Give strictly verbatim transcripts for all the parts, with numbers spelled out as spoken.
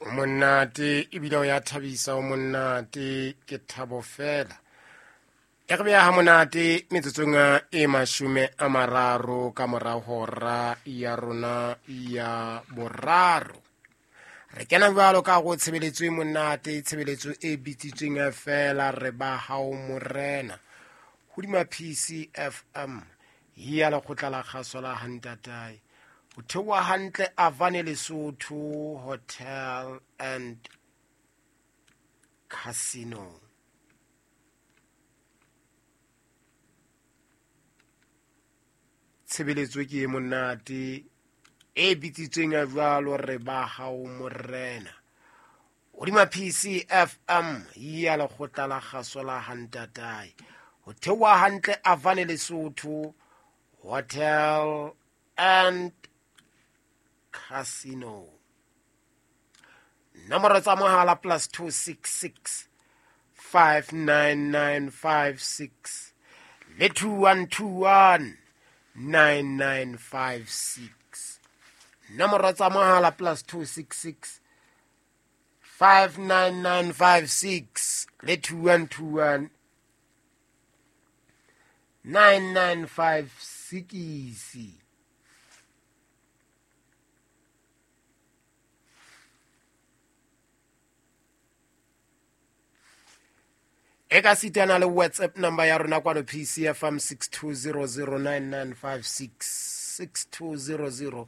O monate ebile o ya thabisa, o monate ke thabo fela. E re beha ha monate metsotsong e mashome a mararo ka mora hora ya rona ya boraro. Re kena jwalo ka go tshebeletso e monate, tshebeletso e bitsitsweng fela re ba hao morena. Hodima P C F M ya lekgotla la kgaso la Hantatae. Ho theoha hantle Avane Lesotho Hotel and Casino. Tshebeletso ke e monate e bitsitsweng jwalo re ba hao morena. Hodima P C F M ya lekgotla la kgaso la Hantatae. Ho theoha hantle Avane Lesotho Hotel and Casino. Nomoro tsa mohala plus two six six five nine nine five six le two one two one nine nine five six. Nomoro tsa mohala plus two six six five nine nine five six le two one two one nine nine five six. E ka sitana le WhatsApp number ya rona kwano P C F M six two zero zero nine nine five six, six two zero zero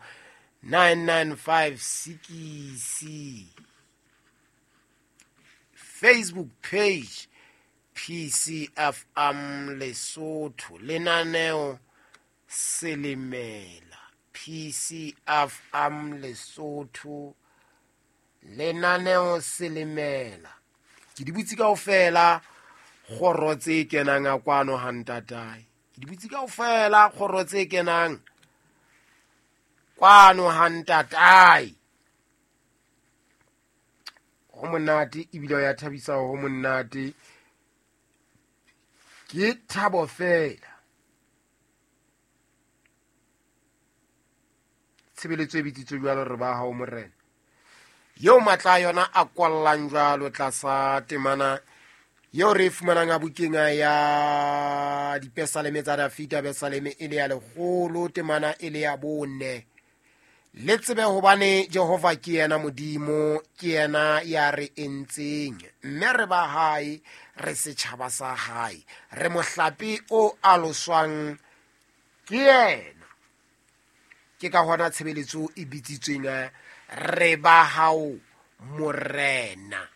nine nine five six. Facebook page P C F M Lesotho, lenaneo Selemela. P C F M Lesotho, lenaneo Selemela. Ke di butse kaofela kgoro tse kenang a kwano ha ntatae. Ke di butse kaofela kgoro tse kenang kwano ha ntatae. Ho monate ebile o ya thabisa, ho monate ke thabo fela. Tshebeletso e bitsitswe jwalo re ba hao morena. Eo matla a yona a kwallang jwalo tlasa temana eo re e fumanang a bukeng ya dipesaleme tsa Dafita, pesaleme e le ya lekgolo, temana e le ya bone. Le tsebe hobane Jehova ke yena Modimo, ke yena ya re entseng, mme re ba hae, re setjhaba sa hae, re mohlape o aloswang ke yena. Ke ka hona tshebeletso e bitsitsweng re ba hao morena.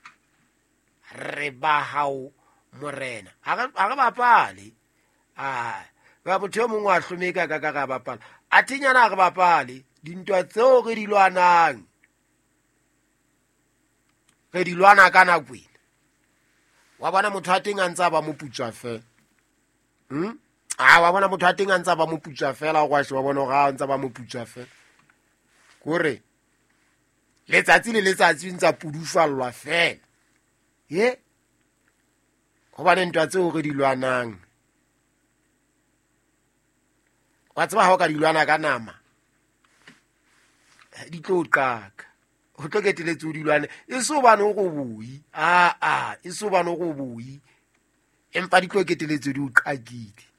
Re ba hao morena. Ha re bapale. Ah, ba motho e mongwe wa hlomeka ka ka ra bapala. A thinyana re bapale. Dintwa tseo re di lwanang, re di lwana ka nako ena. Wa bona motho a teng a ntse a ba moputswa fela. Hmm? Ah, wa bona motho a teng a ntse a ba moputswa fela, o wa bona hore a ntse a ba moputswa fela. Kore letsatsi le letsatsi ntse a pudufallwa fela. Ye? Hobane ntwa tseo re di lwanang, wa tseba ha o ka di lwana ka nama, di tlo qaka. Ho tlo keteletse o di lwane. E so bane o go boi. Ah ah, e so bane o go boi. Empa di tlo keteletse di o qakile.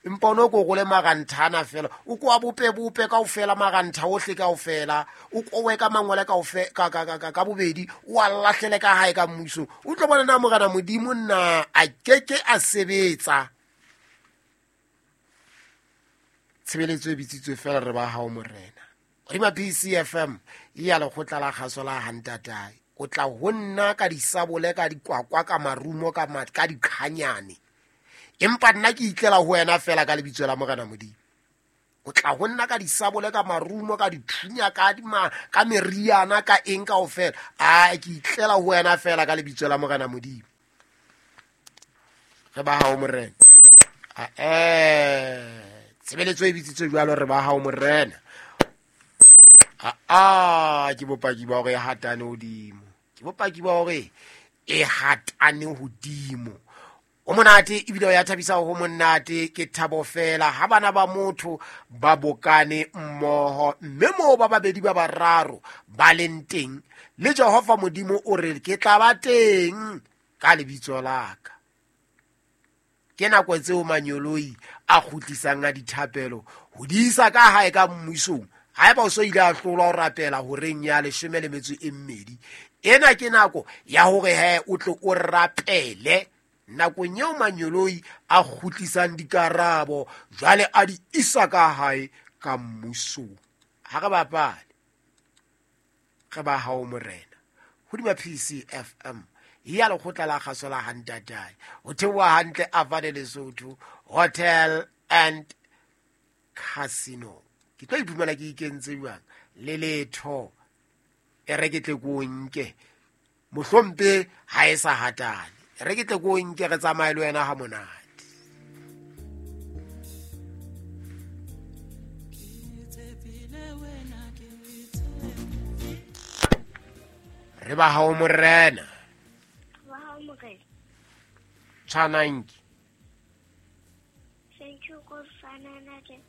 Empa ono ko gole maranthana fela. O ko a bope bope kaofela marantha ohle kaofela. O kowe ka mangwele kaofe ka ka ka ka bobedi, o a lahlele ka hae ka mmuso. O tlo bona na morena Modimo nna a keke a sebetsa. Tshebeletso e bitsitswe fela re ba hao morena. Hodima P C F M ya lekgotla la kgaso la Hantatae. O tla ho nna ka disabole, ka dikwakwa, ka marumo, ka ka dikhanyane. Empa nna ke itlela ho wena fela ka lebitso la morena Modimo. O tla ho nna ka disabole, ka marumo, ka dithunya, ka dima, ka meriana, ka eng kaofela. A ke itlela ho wena fela ka lebitso la morena Modimo. Re ba hao morena. A eh tshebeletso e bitsitswe jwalo re ba hao morena. Ah, ke bopaki ba hore e hatane hodimo. Ke bopaki ba hore e hatane hodimo. O monate ebile o ya thabisa ho monate ke thabo fela ha bana ba motho ba bokane mmoho mme moo ba babedi ba bararo ba leng teng le Jehova Modimo o re ke tla ba teng ka lebitso la ka. Ke nako tseo manyoloi a kgutlisang a dithapelo ho di isa ka hae ka mmusong. Haeba o so ile a hlolwa ho rapela horeng ya leshome le metso e mmedi, ena ke nako ya hore he o tle o rapele nakong eo manyoloi a kgutlisang dikarabo jwale a di isa ka hae ka mmusong. Ha re bapale, re ba hao morena hodima P C F M ya lekgotla la kgaso la Hantatane ho theoha hantle Avane Lesotho Hotel and Casino. Ke tlo iphumana ke ikentse jwang le letho e re ke tle ko nke mohlompe ha e sa hatane re ke tle ko nke re tsamaye le wena ha monate. Re ba hao morena. Ba hao morena. Tshwananki. Thank you God for another day.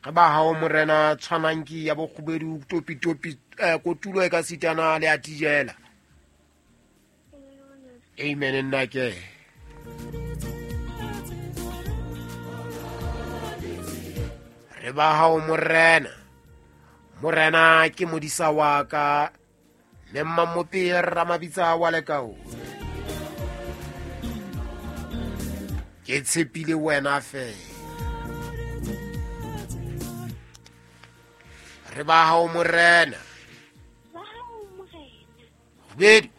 Re ba hao morena tshwananki ya bokgubedu topi topi kotulo e ka sitana le a tijela. Amen nna ke. Re ba hao morena. Morena ke modisa wa ka le mmamope ramabitsa wa lekao. Ke tshepile wena fela. Re ba hao morena. Ba hao morena. Kgubedu.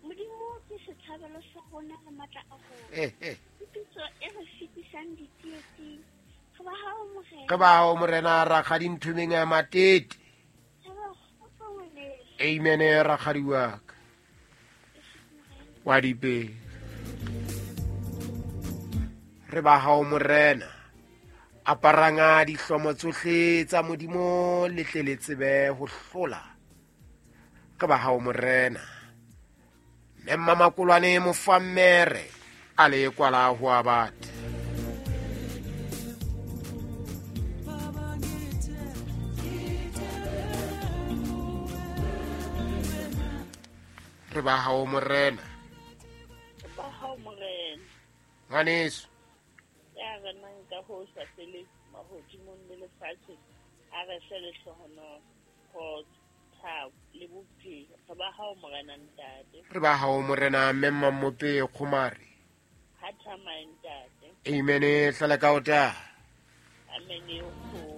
Modimo ke setshabelo sa rona le matla a rona. Eh eh. Pitso e re fetisang ditsietsing. Re ba hao morena. Re ba hao morena rakgadi nthomeng ya matete. Amen rakgadi wa ka. Wa dipe. Re ba hao morena. Aparanga dihlomo tsohle tsa Modimo le tle le tsebe ho hlola. Re ba hao morena. Mme mmakolwane mofammere a le kwala ho a batho. Re ba hao morena. Re ba hao morena. Ngwaneso. Ya renang ka ho sa feleng mahodimong le lefatsheng a re fe lehlohonolo, kgotso, thabo le bophelo. Re ba hao morena ntate. Re ba hao morena mme mmamope kgomare. Ha thamae ntate. Amen hlala ka ota. Amen e kgolo.